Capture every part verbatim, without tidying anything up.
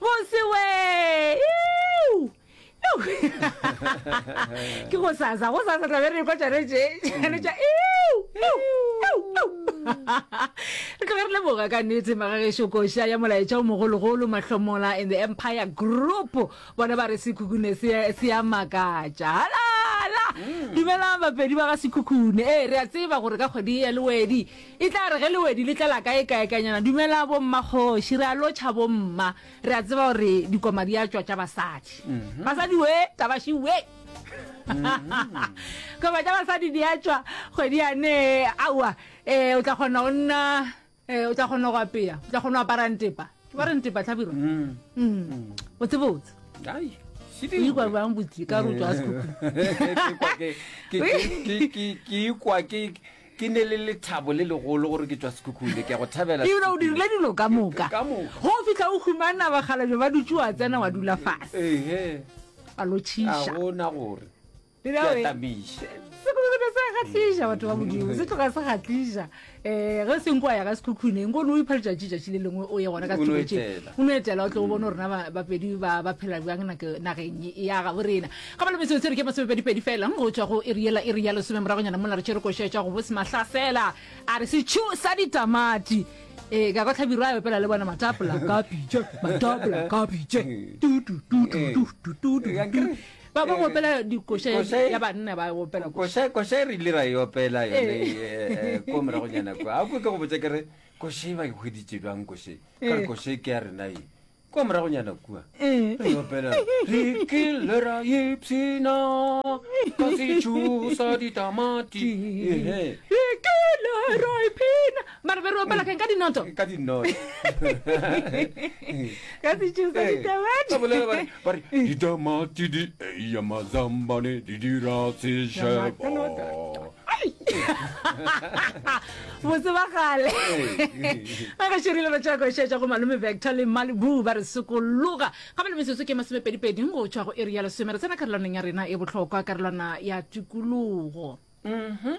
Bose we. Ke go sasa, go sasa tla be re kwa tšane tše, tšane tša Re tloge re leboga ka nnete magagešo koša ya molaetša o mogologolo Mahlomola in the Empire Group. Bona ba re Sekhukhune se se a makatša. Halala! Dumelang bapedi ba ga Sekhukhune. Ee, re a tseba gore ka kgwedi ya Lewedi e tla re ge Lewedi le tlala kae kae kanyana. Dumela bommakgoši, re a lotšha bomma. Re a tseba gore dikoma di a tšwa tša basadi. Basadi we, tabaši we. Koma tša basadi di a tšwa kgwedi yane. Aowa, eh, o tla kgona go nna, eh, o tla kgona go apea, o tla kgona go apara ntepa. Ke ba re ntepa Hlabirwa? Mm. Botse botse. Ai, O ikwa bjang botse ka re o tšwa Sekhukhune? Ke kwa ke ke ke ke ke ikwa ke ke ne le lethabo le legolo gore ke tšwa Sekhukhune, ke a go thabela. Ebile o dirile dilo ka moka. Ka moka. Go fihla o humana bakgalabje ba dutše wa tsena wa dula fase. Ehe. Wa lotšhiša. A gona gore Le ke a bjale, tamiša. Sekhukhune se a kgahliša batho ba Modimo, se tloga se kgahliša. Um ge se nko wa ya ka Sekhukhune, nko o no ipha letšatši tšatši le lengwe o ye gona ka O no sethuko tše. etela. O no etela o tle o bone gore na ba- bapedi ba ba phela bjang nako- nageng ya gabo rena. Ga ba le metsotso e re ke masomepedipedi fela go tšwa go iri yela iri ya lesome moragonyana mola re tšere koša tša go bose mahlasela a re setšhu sa ditamati. Ee, ka kwa Hlabirwa a opela le bona matapola ka pitše, matapola ka pitše, tu tu tu tu tu tu tu tu tu. Ba ba opela dikoša ya banna ba opela koša. Koša e re ile ra e opela yone eh, ko moragonyana kwa. A kwe ke go botša ke re koša e ba e hweditše bjang koša e? Ka re koša e ke ya rena e. Kwa moragonyana kua re e opela re kile ra ipshina ka setšhu sa ditamati. Ehe. Re kile ra ipshina. Mara be re opela keng ka dinoto? Ka dinoto. Ka setšhu sa ditamati. Ba bolela ba re ba re ditamati di eya mazambane di dira sešebo. Botse ba kgale. Ba ga širile ba tšwa košetša go malome Vector le Malibu ba re sokologa. Ga ba le metsotso ke masomepedipedi go tšwa go iri ya lesome re tsena karolwaneng ya rena e bohlokwa karolwana ya tikologo. Mhm.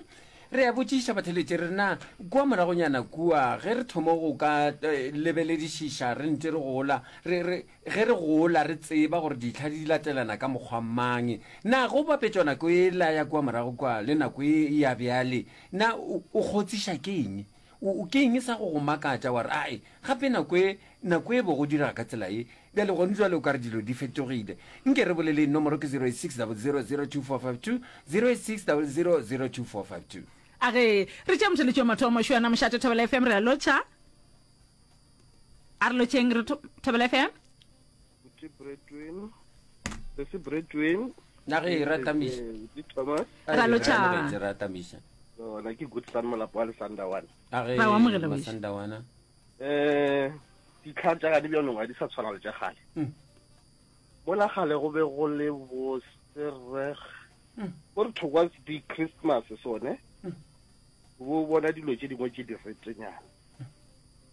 Re a botšiša batheletši re na kua moragonyana kua ge re thoma go ka eh, lebeledišiša re ntše re gola re, re, ge re gola re tseba gore ditlha di latelana ka mokgwa mang. Na go bapetšwa nako ela ya kua morago kua le nako e ya bjale, na o, o kgotsiša ke eng? O, o, ke eng sa go go makatša wa re, Ae, gape nako e, nako e bo go direga ka tsela ye, bjale gone jwale o ka re dilo di fetogile. Nke re boleleng, nomoro ke zero eight six double zero zero two four five two, zero eight six double zero zero two four five two. A ge re tšea motheletši wa mathomo, Šuana Mošate, Thobela F M, re a lotšha. A re lotšheng re Thobela F M. Buti Bretwin, Sesi Bretwin. Na ge ra tamiša. Buti Thomas. Ra lotšha. Ra tamiša. Ona ke good son molapo wa Lesandawana. A ge Ra o amogela wešo. Masandawana. Eh, ditlhare tša gane bjanong ga di sa tshwana le tša kgale. Mm. Mola kgale go be go le bo sereg. Mm. Go re thokwa di Christmas sone. Mm. Bo bona dilo tše dingwe tše di retenyana.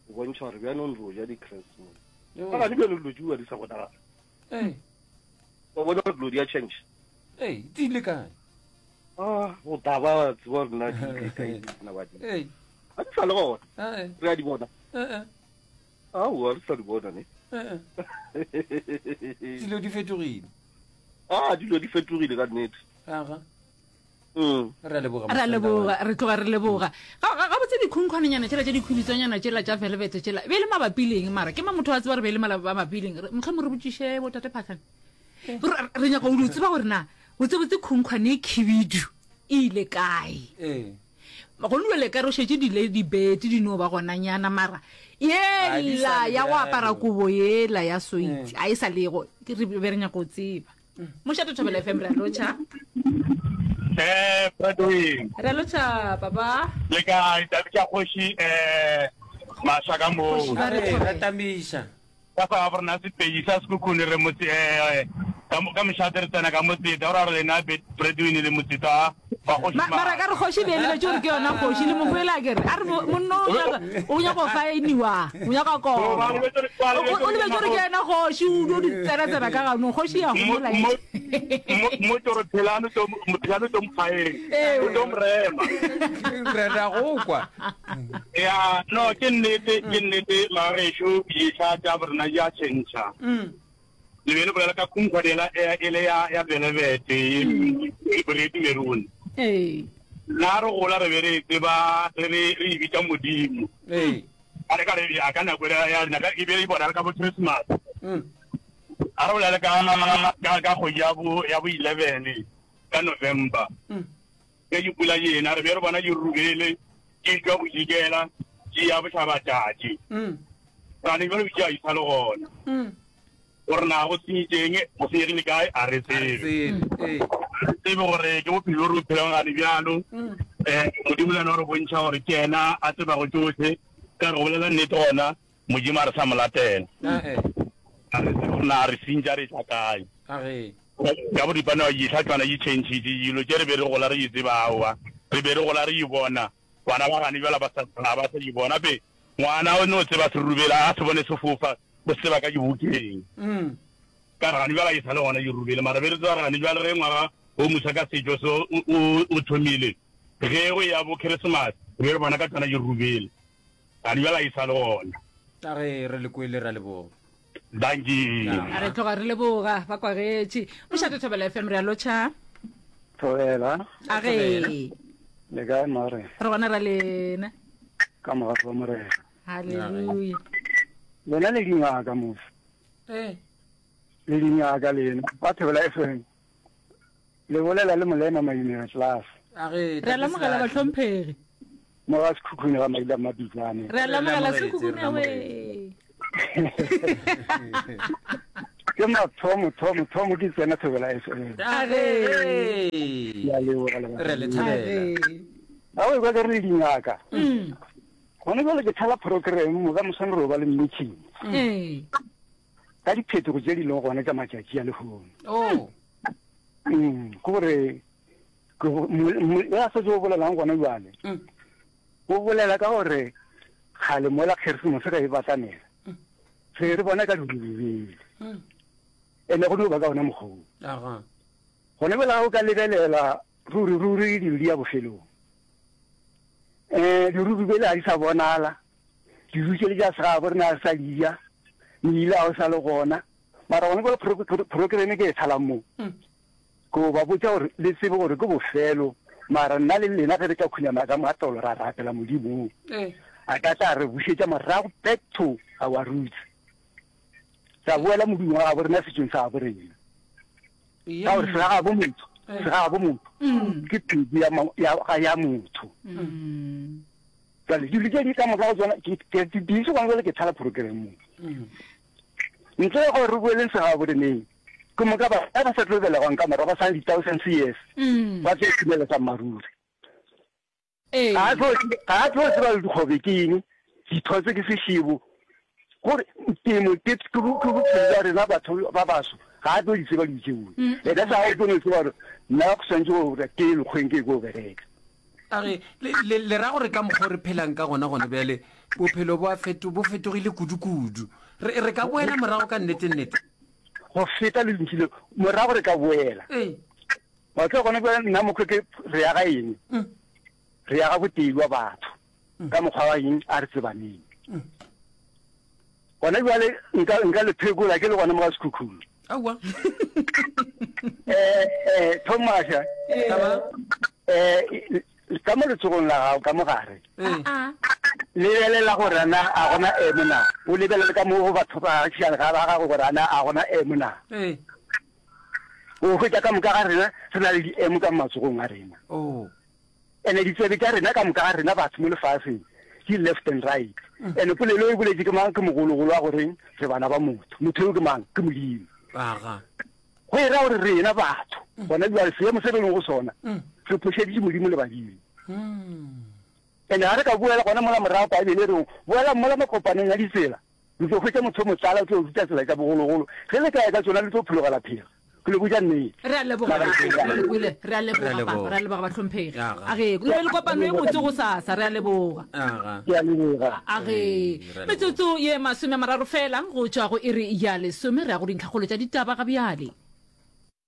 Go bontšha gore bjanong re o ja di Christmas. Yo. Ka gane bjanong dilo tšeo di sa bonagala. Ee. Wa bona gore dilo di a change. Ee, di ile kae? Ah, go taba wa tseba gore na di ile kae di na ba di. Ee. Ga di sa le gona. Ee. Re a di bona. Ee. Aowa, re sa di bona ne. Ee. Dilo di fetogile. Ah, dilo di fetogile ka nnete. Aga. Mm. Re a leboga. Re a leboga, re tloga re leboga. Ga ga gabotse dikhunkhwanenyana tšela tše dikhwibitswanyana tšela tša velvet tšela be le mabapi le eng mara ke ma motho a tseba gore be le mabapi le eng. Mohlomong re botšiše bo tate Phahlane. Re re nyaka go di tseba gore na botsebotse khunkhwane e khibidu e ile kae. Ee. Go nwe ka re šetše dile dibete di no ba gonanyana mara Ha di sa yela le ya go apara bjalo. kobo yela ya soitsi Mm. a e sa lego ke re be re nyaka go tseba. Mošate Thobela F M re a lotšha. Eh, Bradwin. Re a lotšha papa. Le kae tate tša kgoši eh masha ka moo. Kgoši ba re Re thobela. tamiša. Ka fa ga borena Sepedi sa Sekhukhune re motse eh Ka mo- ka mošate re tsena ka motseta o ra re lena breadwin le motseta wa kgoši Ma- mara ka re kgoši be lebetse gore ke yona kgoši le mokwele a kere a re mo- monna o nyaka- o nyaka go faeniwa o nyaka O, ba kona lebetse gore- ba o lebetse o lebetse gore ke yena kgoši o dio di tsena-tsena ka ganong kgoši ya gomola mo toro phelano to phelano to mokgaeng Ee. o tlo morema re ra go kwa ya no ke nnete ke nnete magešo ditlha tša borena di a tšhentšha le be le bolela ka khunkhwane e le ya ya velevete red maroon ee nna re gola re be re e tseba re re re e bitša modimo ee a re ka re a ka nako ya ya rena ka e be e bonala ka bo Christmas Mm. a re bolele ka ka ka kgwedi ya bo ya bo eleven ka November Mm. ge di pula ena re be re bona di rubele di tšwa bodikela di ya bohlabatšatši Mm. gane jalo di a isa le gona Mm. gore na go senyetseng go senyegile kae a re A re tsebe tsebe ee re tsebe gore ke bophelo bo re bo phelang gane bjalo Mm. um modimo le ena o re bontšha gore ke ena a tsebago tšohle ka re go bolela nnete gona modimo a re sa mo latela Ah, eh. a re tsebe gore na re sentša re tla kae a ge ka boripana wa ditlha tswana di changile dilo tše re be re gola re di tseba aowa re be re gola re di bona bana ba gane bjala ba sa ga ba sa di bona pe ngwana o no tseba serubele a se bone sefofa o se tseba ka dibukeng Mm. ka re gane bjala e sa le gona dirubele mara be re tseba re gane bjale ge ngwaga o mosa ka setšo se o- o o thomile ge go ya bo Christmas re be re bona ka tsona dirubele gane bjala e sa le gona a ge re le kwele ra leboga dankie Ya. a re tloga re leboga ba kwagetše mošate thobela f m re a lotšha Thobela, a ge le kae mare? re gona ra lena Ka morago wa morena. halleluja Lena le dingaka mos. ee Le dingaka lena. Ba Thobela F M. Le bolela le molema Maimela class. a ge re a lamogela bahlomphegi Mo ga Sekhukhune ga Maila Mabitsane. re a lamogela Re sekhukhune lamogetse, re we Ke mathomo thomo thomo ke tsena Thobela F M. a ge Ke a leboga le ba. re le thabela A o kwa ke re le dingaka. Mm. Gone jwale ke thala program mo ka moswane re ba le meeting. ee Ka diphetogo tse di leng gona tša matšatši a lehono. oh Mm, ke gore ke go- mo- mo- ya setse o bolelang gona jwale. Mm. O bolela ka gore kgale mola Keresemose ge e batamela re re bona ka dirurubele Mm. ene go no ba ka ona mokgwa oo. aga Gone bjale ga o ka lebelela ruri ruri dilo di ya bofelong um dirurubele ga di sa bonala dijo tše le tša segabo rena ga re sa di ja meile ga o sa le gona mara gone bjale pro- pro- programme ke e thalang mo Mm. ko ba botša gore le tsebe gore ke bofelo mara nna le lena ge re ka khunama ka matolo ra rapela modimo ee a ka tla re bušetša morago back to our roots ra boela modimo wa gabo rena setšong sa gabo rena ka gore segagabo motho Eh. segagabo motho Mm. ke pedi ya ma- ya ga ya motho Mm. jale dilo tse di ka moka go tsona ke ke- ke busy gona jale ke thala program mo Mm. ntle le gore re boeleng segagabo reneng ke moka ba ba sa tlo belegwang ka morago ba sa le di-thousands years Mm. ba tlo itumela sa mmaruri Ee. ga a tlo ga a tlo tseba le dikgobe ke eng dithotse ke sešebo gore temo ke ke bo- ke bophelo bja rena batho ba baso ga a tlo di tseba dilo tšeo Mm. ena sa o tlo no tseba gore nna go swantse gore ke ye lekgweng ke ye ko bereka a ge le- le le ra gore ka mokgwa o re phelang ka gona gone bjale bophelo bo a feto bo fetogile kudu-kudu re re ka boela morago ka nnete-nnete go feta le dintši le morago re ka boela ee wa tseba gone bjale nna mokgwa ke re ya ga eng Mm. re ya ga botei wa batho ka mokgwa wa eng a re tsebaneng Mm. gona bjale nka nka le phekola ke le gona mo ga Sekhukhune aowa eh eh Thomas Taba? eh ka mo letsogong la gago ka mogare ee Ah, lebelela gore ana a gona emo na o lebelele ka mo go batho ba gašiane ga ba gago gore ana a gona emo na ee o hwetša ka moka ga rena re na le di-emo ka matsogong a rena oh ene ditsebe tša rena ka moka ga rena batho mo lefaseng ke left and right ene polelo e boletse ke mang ke mogologolo wa goreng re bana ba motho motho eo ke mang ke modimo aga go e ra gore rena batho gona jale seemo se re leng go sona Mm. re phošeditše modimo le badimo Mm. ene ga re ka boela gona mola morago baebele reng boela mola makopaneng a ditsela le tlo hwetša motho o motlala o tlo ruta tsela tša bogologolo ge le ka ya ka tsona le tlo phologela phela ke Ke le botša nnete. Re a leboga, re le kwele, re a leboga papa, re a leboga bahlomphegi. A ge, le be le kopano e botse gosasa, re a leboga. Ke a leboga. A ge, metsotso ye masome a mararo fela go tšwa go iri ya lesome, re ya go dintlhakgolo tša ditaba ga bjale.